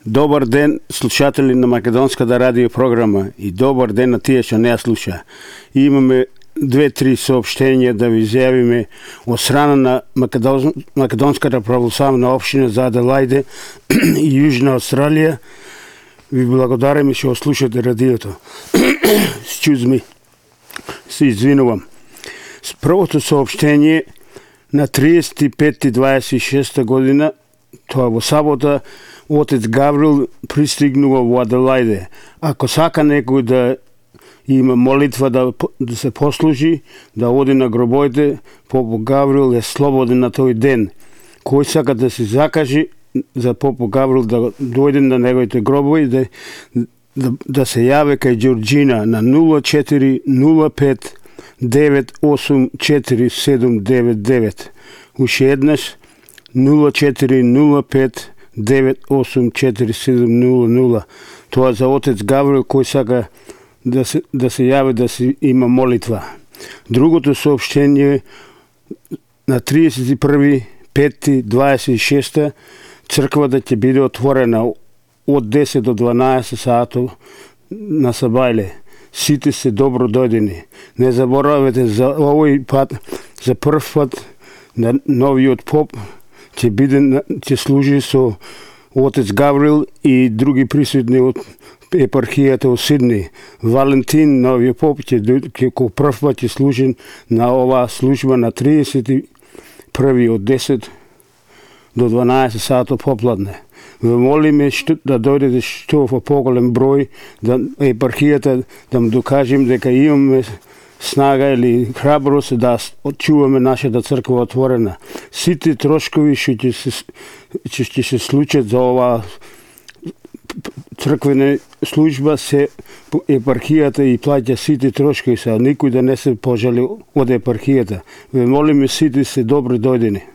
Добар ден, слушатели на Македонската радио програма и добар ден на тие што не ја слуша. Имаме 2-3 соопштенија да ви изјавиме од страна на Македонската православна општина за Аделајде и Јужна Австралија. Ви благодариме што слушате радиото. Excuse me. Се извинувам. Првото соопштение на 35.26 година, тоа во сабота, Отец Гаврил пристигнува во Аделајде. Ако сака некој да има молитва да се послужи, да оди на гробовите, Попо Гаврил е слободен на тој ден. Кој сака да се закажи за Попо Гаврил да дојде на неговите гробови, да се јаве кај Ѓорџина на 0405 984 Уште еднаш 0405 984 Тоа за Отец Гаврил кој сака да се јави да се има молитва. Другото соопштение на 31.5.26 црквата ќе биде отворена од 10 до 12 сатот на Сабајле. Сите се добро дојдени. Не заборавете за овој пат, за прв пат на новиот поп ќе служи со Отец Гаврил и други присутни од епархијата од Сидни. Валентин, новиот поп, ќе ко прв пат ќе служи на оваа служба на 31. од 10 до 12 сатот попладне. Ве молиме да дојдете што во поголем број, да епархијата да му докажем дека имаме снага или храброст да очуваме нашата црква отворена. Сите трошкови што ќе се случат за оваа црквена служба се епархијата и плаќа сите трошкови, никој да не се пожали од епархијата. Ве молиме сите се добро дојдени.